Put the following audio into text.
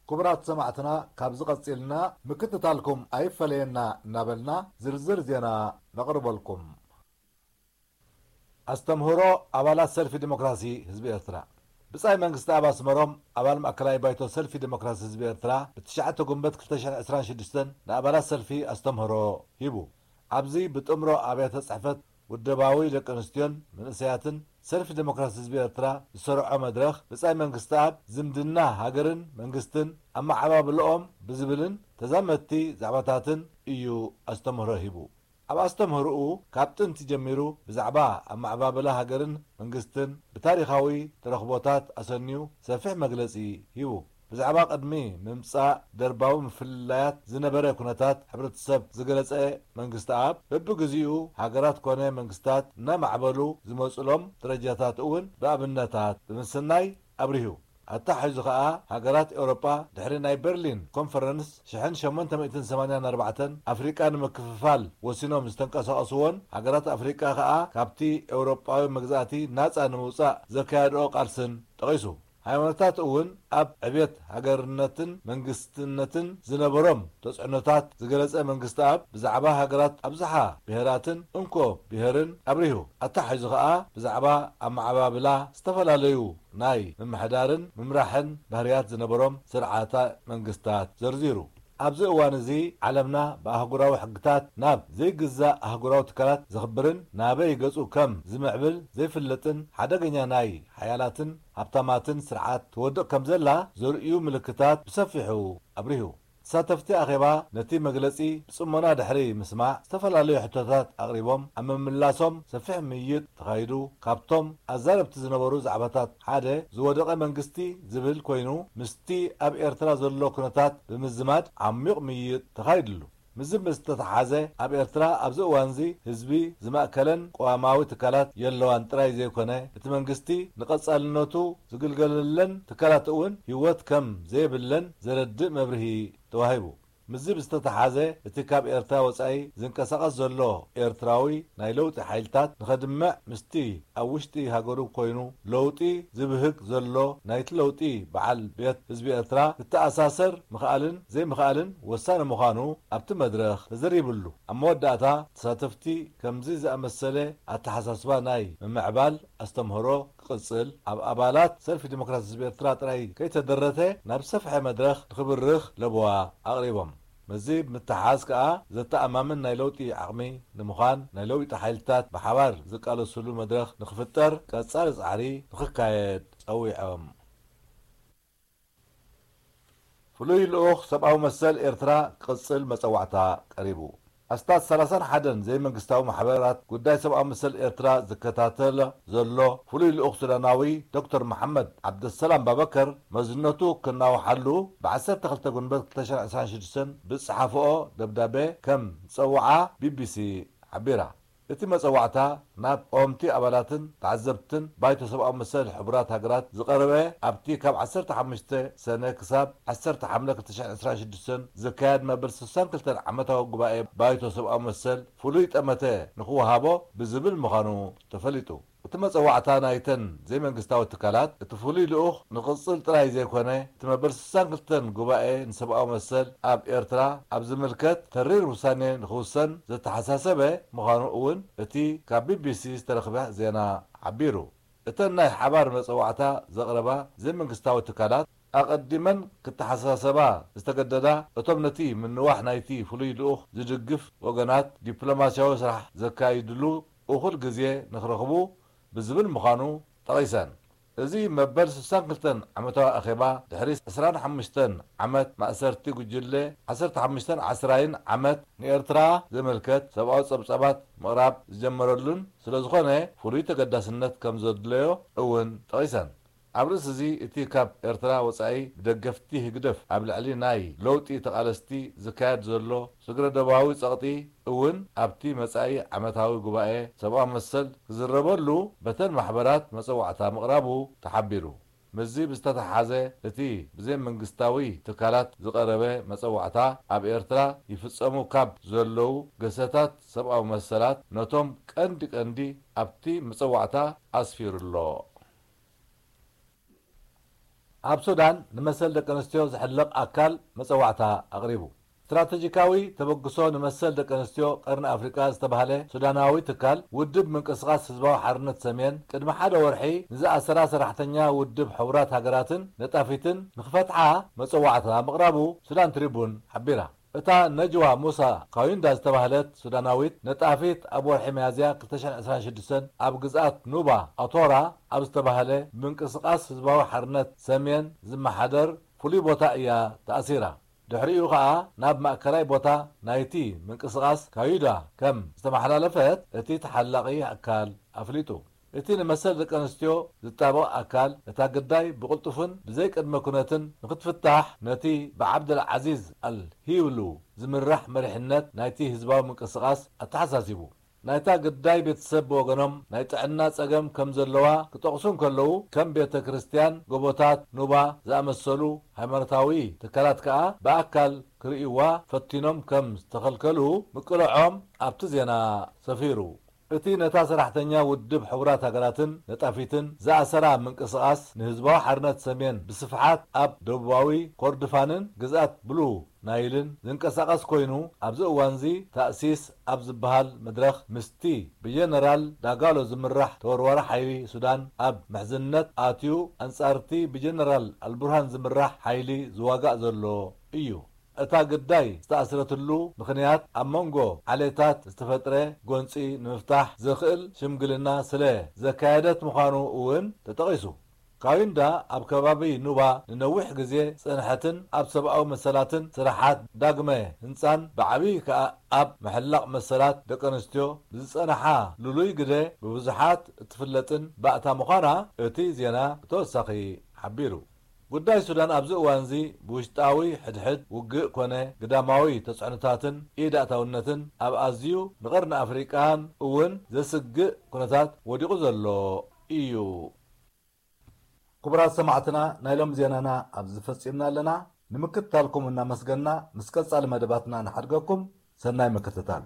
ክቡራት ሰማዕትና፣ ካብዚ ቀጺልና ምክትታልኩም ኣይፈለየና እናበልና ዝርዝር ዜና ነቕርበልኩም። ኣስተምህሮ ኣባላት ሰልፊ ዲሞክራሲ ህዝቢ ኤርትራ። ብጻይ መንግስተኣብ ኣስመሮም፣ ኣባል ማእከላይ ባይቶ ሰልፊ ዲሞክራሲ ህዝቢ ኤርትራ፣ ብትሽዓተ ጉንበት ክልተ ሽሕን ዕስራን ሽዱሽተን ንኣባላት ሰልፊ ኣስተምህሮ ሂቡ። ኣብዚ ብጥምሮ ኣብያተ ጽሕፈት ውደባዊ ደቂ ኣንስትዮን መንእሰያትን ሰልፊ ዲሞክራሲ ህዝቢ ኤርትራ ዝሰርዖ መድረኽ፣ ብጻይ መንግስተኣብ ዝምድና ሃገርን መንግስትን ኣመዓባብልኦም ብዝብልን ተዛመድቲ ዛዕባታትን እዩ ኣስተምህሮ ሂቡ። ኣብ ኣስተምህሮኡ፣ ካብ ጥንቲ ጀሚሩ ብዛዕባ ኣመዓባብላ ሃገርን መንግስትን ብታሪኻዊ ተረኽቦታት ኣሰንዩ ሰፊሕ መግለጺ ሂቡ። ብዛዕባ ቅድሚ ምምጻእ ደርባዊ ምፍልላያት ዝነበረ ኩነታት ሕብረተሰብ ዝገለጸ መንግስተኣብ፣ በብግዜኡ ሃገራት ኮነ መንግስታት እናማዕበሉ ዝመጹሎም ደረጃታት እውን ብኣብነታት ብምስናይ ኣብሪሁ። ኣተሓሒዙ ከኣ፣ ሃገራት ኤውሮጳ ድሕሪ ናይ በርሊን ኮንፈረንስ ሽሕን ሸሞንተ ሚእትን ሰማንያን ኣርባዕተን ኣፍሪቃ ንምክፍፋል ወሲኖም ዝተንቀሳቐስዎን፣ ሃገራት ኣፍሪቃ ከኣ ካብቲ ኤውሮጳዊ መግዛእቲ ናጻ ንምውጻእ ዘካየድኦ ቃልስን ጠቒሱ። ሃይማኖታት እውን ኣብ ዕብየት ሃገርነትን መንግስትነትን ዝነበሮም ተጽዕኖታት ዝገለጸ መንግስተኣብ፣ ብዛዕባ ሃገራት ኣብዝሓ ብሄራትን እንኮ ብሄርን ኣብሪሁ። ኣተሓሒዙ ከኣ ብዛዕባ ኣመዓባብላ ዝተፈላለዩ ናይ ምምሕዳርን ምምራሕን ባህርያት ዝነበሮም ስርዓተ መንግስታት ዘርዚሩ። ኣብዚ እዋን እዚ፣ ዓለምና ብኣህጉራዊ ሕግታት ናብ ዘይግዛእ ኣህጉራዊ ትካላት ዘኽብርን ናበይ ገጹ ከም ዝምዕብል ዘይፍለጥን ሓደገኛ ናይ ሓያላትን ሃብታማትን ስርዓት ትወድቕ ከም ዘላ ዘርእዩ ምልክታት ብሰፊሑ ኣብሪሁ። ተሳተፍቲ ኣኼባ ነቲ መግለጺ ብጽሞና ድሕሪ ምስማዕ፣ ዝተፈላለዩ ሕቶታት ኣቕሪቦም፣ ኣብ ምምላሶም ሰፊሕ ምይይጥ ተኻይዱ። ካብቶም ኣዛረብቲ ዝነበሩ ዛዕባታት ሓደ፣ ዝወደቐ መንግስቲ ዝብል ኮይኑ፣ ምስቲ ኣብ ኤርትራ ዘሎ ኩነታት ብምዝማድ ዓሚቕ ምይይጥ ተኻይድሉ። ምስዚ ምስ ተተሓዘ፣ ኣብ ኤርትራ ኣብዚ እዋንዚ ህዝቢ ዝማእከለን ቅዋማዊ ትካላት የለዋን ጥራይ ዘይኮነ፣ እቲ መንግስቲ ንቐጻልነቱ ዝግልገለለን ትካላት እውን ህይወት ከም ዘየብለን ዘረድእ መብርሂ ተዋሂቡ። ምስዚ ብዝተተሓዘ፣ እቲ ካብ ኤርትራ ወጻኢ ዝንቀሳቐስ ዘሎ ኤርትራዊ ናይ ለውጢ ሓይልታት ንኸድምዕ፣ ምስቲ ኣብ ውሽጢ ሃገሩ ኮይኑ ለውጢ ዝብህግ ዘሎ ናይቲ ለውጢ በዓል ቤት ህዝቢ ኤርትራ ክተኣሳሰር ምኽኣልን ዘይምኽኣልን ወሳኒ ምዃኑ ኣብቲ መድረኽ ተዘሪብሉ። ኣብ መወዳእታ፣ ተሳተፍቲ ከምዚ ዝኣመሰለ ኣተሓሳስባ ናይ ምምዕባል ኣስተምህሮ ክቕጽል፣ ኣብ ኣባላት ሰልፊ ዲሞክራሲ ህዝቢ ኤርትራ ጥራይ ከይተደረተ ናብ ዝሰፍሐ መድረኽ ንኽብርኽ ለበዋ ኣቕሪቦም። ምስዚ ብምትሓዝ ከኣ፣ ዘተኣማምን ናይ ለውጢ ዓቕሚ ንምዃን፣ ናይ ለውጢ ሓይልታት ብሓባር ዝቃለሱሉ መድረኽ ንኽፍጠር ቀጻሊ ጻዕሪ ንኽካየድ ጸዊዖም። ፍሉይ ልኡኽ ሰብኣዊ መሰል ኤርትራ ክቕጽል መጸዋዕታ ቀሪቡ። ኣስታት ሰላሳን ሓደን ዘይመንግስታዊ ማሕበራት ጉዳይ ሰብኣዊ መሰል ኤርትራ ዝከታተል ዘሎ ፍሉይ ልኡኽ ሱዳናዊ ዶክተር መሓመድ ዓብደሰላም ባበከር መዝነቱ ክናውሓሉ ብ ዓሰርተ ክልተ ጉንበት ክልተ ሽሕን ዕስራን ሽዱሽተን ብዝጸሓፍኦ ደብዳቤ ከም ዝጸውዓ ቢቢሲ ሓቢራ። እቲ መጸዋዕታ ናብ ቀወምቲ ኣባላትን ተዓዘብትን ባይቶ ሰብኣዊ መሰል ሕቡራት ሃገራት ዝቐረበ፣ ኣብቲ ካብ ዓሰርተ ሓሙሽተ ሰነ ክሳብ ዓሰርተ ሓምለ ክልተ ሽሕን ዕስራን ሽዱሽተን ዝካየድ መበል ስሳን ክልተን ዓመታዊ ጉባኤ ባይቶ ሰብኣዊ መሰል ፍሉይ ጠመተ ንኽወሃቦ ብዝብል ምዃኑ ተፈሊጡ። እቲ መጸዋዕታ ናይተን ዘይመንግስታዊ ትካላት፣ እቲ ፍሉይ ልኡኽ ንቕጽል ጥራይ ዘይኮነ፣ እቲ መበል ስሳን ክልተን ጉባኤ ንሰብኣዊ መሰል ኣብ ኤርትራ ኣብ ዝምልከት ተሪር ውሳኔ ንኽውሰን ዘተሓሳሰበ ምዃኑ እውን እቲ ካብ ቢቢሲ ዝተረኽበ ዜና ሓቢሩ። እተን ናይ ሓባር መጸዋዕታ ዘቕረባ ዘይመንግስታዊ ትካላት፣ ኣቐዲመን ክተሓሳሰባ ዝተገደዳ፣ እቶም ነቲ ምንዋሕ ናይቲ ፍሉይ ልኡኽ ዝድግፍ ወገናት ዲፕሎማስያዊ ስራሕ ዘካይድሉ እኹል ግዜ ንኽረኽቡ ብዝብል ምዃኑ ጠቒሰን። እዚ መበል ስሳን ክልተን ዓመታዊ ኣኼባ፣ ድሕሪ ዕስራን ሓሙሽተን ዓመት ማእሰርቲ ጉጅለ ዓሰርተ ሓሙሽተን ዓስራይን ዓመት ንኤርትራ ዝምልከት ሰብኣዊ ጸብጻባት ምቕራብ ዝጀመረሉን ስለ ዝኾነ፣ ፍሉይ ተገዳስነት ከም ዘድለዮ እውን ጠቒሰን። ኣብ ርእሲ እዚ፣ እቲ ካብ ኤርትራ ወጻኢ ብደገፍቲ ህግደፍ ኣብ ልዕሊ ናይ ለውጢ ተቓለስቲ ዝካየድ ዘሎ ስግረ-ዶባዊ ጸቕጢ እውን ኣብቲ መጻኢ ዓመታዊ ጉባኤ ሰብኣዊ መሰል ክዝረበሉ በተን ማሕበራት መጸዋዕታ ምቕራቡ ተሓቢሩ። ምስዚ ብዝተተሓሓዘ፣ እቲ ብዘይመንግስታዊ ትካላት ዝቐረበ መጸዋዕታ፣ ኣብ ኤርትራ ይፍጸሙ ካብ ዘለዉ ግህሰታት ሰብኣዊ መሰላት ነቶም ቀንዲ ቀንዲ ኣብቲ መጸዋዕታ ኣስፊሩ ኣሎ። ኣብ ሱዳን ንመሰል ደቂ ኣንስትዮ ዝሕለቕ ኣካል መጸዋዕታ ኣቕሪቡ። ስትራተጂካዊ ተበግሶ ንመሰል ደቂ ኣንስትዮ ቀርኒ ኣፍሪቃ ዝተባህለ ሱዳናዊ ትካል፣ ውድብ ምንቅስቓስ ህዝባዊ ሓርነት ሰሜን፣ ቅድሚ ሓደ ወርሒ ንዝኣሰራ ሰራሕተኛ ውድብ ሕቡራት ሃገራትን ነጣፊትን ንኽፈትሓ መጸዋዕታ ምቕራቡ ሱዳን ትሪቡን ሓቢራ። እታ ነጅዋ ሙሳ ካዩንዳ ዝተባህለት ሱዳናዊት ነጣፊት፣ ኣብ ወርሒ ሚያዝያ ክልተ ሽሕን ዕስራን ሽዱሽተን ኣብ ግዝኣት ኑባ ኣቶራ ኣብ ዝተባህለ ምንቅስቓስ ህዝባዊ ሓርነት ሰሜን ዝመሓደር ፍሉይ ቦታ እያ ተኣሲራ። ድሕሪኡ ኸኣ ናብ ማእከላይ ቦታ ናይቲ ምንቅስቓስ ካዩዳ ከም ዝተመሓላለፈት እቲ ተሓላቒ ኣካል ኣፍሊጡ። እቲ ንመሰል ደቂ ኣንስትዮ ዝጣበቕ ኣካል፣ እታ ግዳይ ብቕልጡፍን ብዘይ ቅድመ ኩነትን ንኽትፍታሕ፣ ነቲ ብዓብደል ዓዚዝ ኣል ሂብሉ ዝምራሕ መሪሕነት ናይቲ ህዝባዊ ምንቅስቓስ ኣተሓሳሲቡ። ናይታ ግዳይ ቤተሰብ ብወገኖም፣ ናይ ጥዕና ጸገም ከም ዘለዋ ክጠቕሱ እንከለዉ፣ ከም ቤተ ክርስቲያን፣ ጎቦታት ኑባ ዝኣመሰሉ ሃይማኖታዊ ትካላት ከኣ ብኣካል ክርእይዋ ፈቲኖም ከም ዝተኸልከሉ ምቅልዖም ኣብቲ ዜና ሰፊሩ። እቲ ነታ ሰራሕተኛ ውድብ ሕቡራት ሃገራትን ነጣፊትን ዝኣሰራ ምንቅስቓስ ንህዝባዊ ሓርነት ሰሜን ብስፍሓት ኣብ ደቡባዊ ኮርድፋንን ግዝኣት ብሉ ናይልን ዝንቀሳቐስ ኮይኑ፣ ኣብዚ እዋንዚ ታእሲስ ኣብ ዝበሃል መድረኽ ምስቲ ብጀነራል ዳጋሎ ዝምራሕ ተወርዋሪ ሓይሊ ሱዳን ኣብ ምሕዝነት ኣትዩ፣ ኣንጻርቲ ብጀነራል ኣልቡርሃን ዝምራሕ ሓይሊ ዝዋጋእ ዘሎ እዩ። እታ ግዳይ ዝተኣስረትሉ ምኽንያት፣ ኣብ መንጎ ዓሌታት ዝተፈጥረ ጎንጺ ንምፍታሕ ዘኽእል ሽምግልና ስለ ዘካየደት ምዃኑ እውን ተጠቒሱ። ካዊንዳ ኣብ ከባቢ ኑባ ንነዊሕ ግዜ ዝጸንሐትን ኣብ ሰብኣዊ መሰላትን ስራሓት ዳግመ ህንጻን ብዓብዪ ከኣ ኣብ ምሕላቕ መሰላት ደቂ ኣንስትዮ ብዝጸንሓ ልሉይ ግደ ብብዙሓት እትፍለጥን ባእታ ምዃና እቲ ዜና ብተወሳኺ ሓቢሩ። ጉዳይ ሱዳን ኣብዚ እዋንዚ ብውሽጣዊ ሕድሕድ ውግእ ኮነ ግዳማዊ ተጽዕኖታትን ኢድ ኣእታውነትን ኣብ ኣዝዩ ንቐርኒ ኣፍሪቃን እውን ዘስግእ ኩነታት ወዲቑ ዘሎ እዩ። ክቡራት ሰማዕትና፣ ናይ ሎም ዜናና ኣብዚ ፈጺምና ኣለና። ንምክትታልኩም እናመስገና፣ ምስ ቀጻሊ መደባትና ንሓድገኩም። ሰናይ ምክትታል።